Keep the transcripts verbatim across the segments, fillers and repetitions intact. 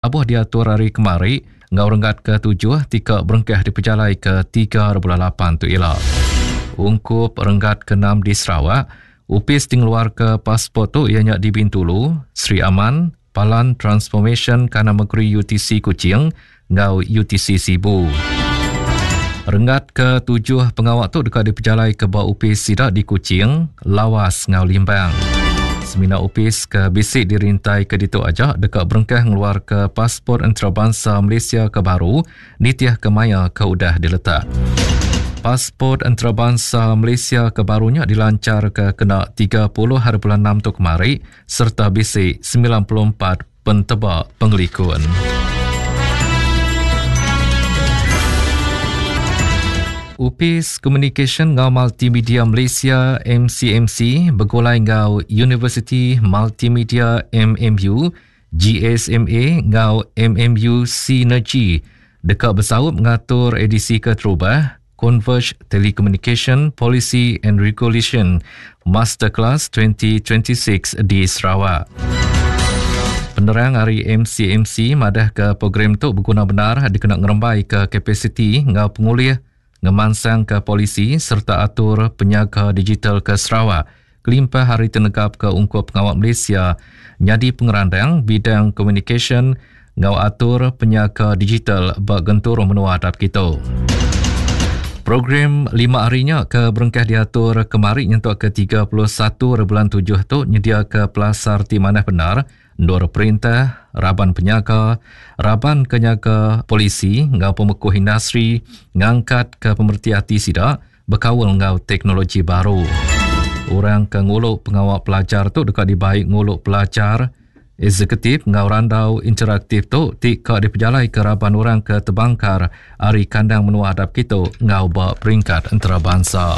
Abuh diatur hari kemari ngau renggat ke tujuh tika berengkah dipejalai ke tiga bulan lapan tu ila. Ungkup renggat ke enam di Sarawak, upis tingluar ke pasport tu ianya di Bintulu, Sri Aman, Palan Transformation Kana Negeri U T C Kuching ngau U T C Sibu. Renggat ke tujuh pengawak tu dekat dipejalai ke bawah upis sidak di Kuching, Lawas ngau Limbang. Semina upis ke bisik dirintai ke ditu aja dekat berengkah ngeluar ke pasport antarabangsa Malaysia ke baru nitiah ke maya ke udah diletak. Pasport antarabangsa Malaysia ke barunya dilancar ke kena tiga puluh hari bulan enam tu kemari serta bisik sembilan puluh empat pentebak pengelikun. Upis Communication ngau Multimedia Malaysia M C M C bergulai ngau University Multimedia M M U G S M A ngau M M U Synergy dekat bersaup ngatur edisi keterubah Converge Telecommunication Policy and Regulation Masterclass twenty twenty-six di Sarawak. Penerang hari M C M C madah ke program tu berguna benar dikena ngerembai ke kapasiti ngau pengulih ngemansang ke polisi serta atur penyaga digital ke Sarawak. Kelimpah hari tenegap ke ungkup pengawal Malaysia nyadi pengerandang bidang communication ngau atur penyaga digital bak gentur menua adap kita. Program lima harinya ke berengkah diatur kemari nyentuk ke tiga puluh satu bulan tujuh tu nyedia ke pelasar ti manah benar ndor perintah, raban penyaga, raban kenyaga polisi ngau pemekuh industri ngangkat ke pemerti hati sida berkawal ngau teknologi baru. Orang ke nguluk pengawal pelajar tu dekat dibaik nguluk pelajar eksekutif ngau randau interaktif tu tika dipejalai ke raban orang ke terbangkar ari kandang menua hadap kita ngau ba peringkat antarabangsa.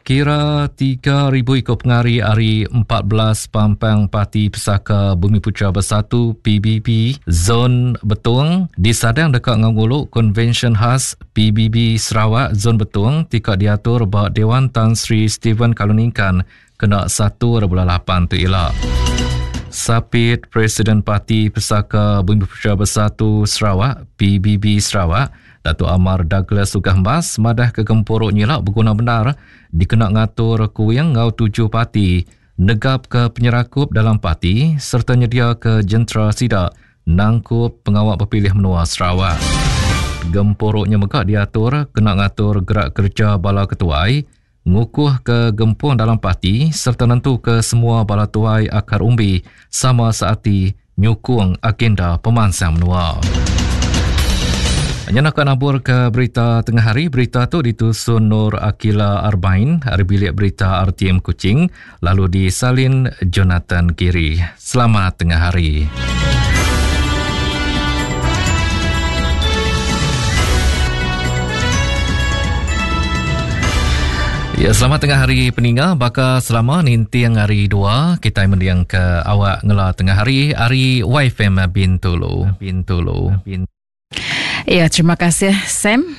Kira tiga ribu ikut pengari hari empat belas Pampang Parti Pesaka Bumi Putra Bersatu P B B Zon Betong disadang dekat nganguluk Konvensyen Khas P B B Sarawak Zon Betong tika diatur ba Dewan Tan Sri Stephen Kaluningkan kena satu bulan lapan tu ila. Sapit Presiden Parti Pesaka Bumi Putra Bersatu Sarawak P B B Sarawak Datuk Amar Douglas Uggah Embas madah ke gempuruk nyilak berguna benar dikena ngatur kuing ngau tujuh parti negap ke penyerakup dalam parti serta nyedia ke jentera sidak nangkup pengawal berpilih menua Sarawak. Gempuruknya megak diatur kena ngatur gerak kerja bala ketuai ngukuh ke gempung dalam parti serta nentu ke semua bala tuai akar umbi sama saati nyukung agenda pemansang menua. Nyenak nabur ke berita tengah hari, berita tu ditusun Nur Akila Arbain, hari bilik berita R T M Kuching, lalu disalin Jonathan Giri. Selamat tengah hari. Ya, selamat tengah hari peninga. Baka selama ninting hari dua, kita mendiang ke awak ngela tengah hari, hari Y F M Bintulu. Bintulu. Bintulu. Ya, terima kasih Sam.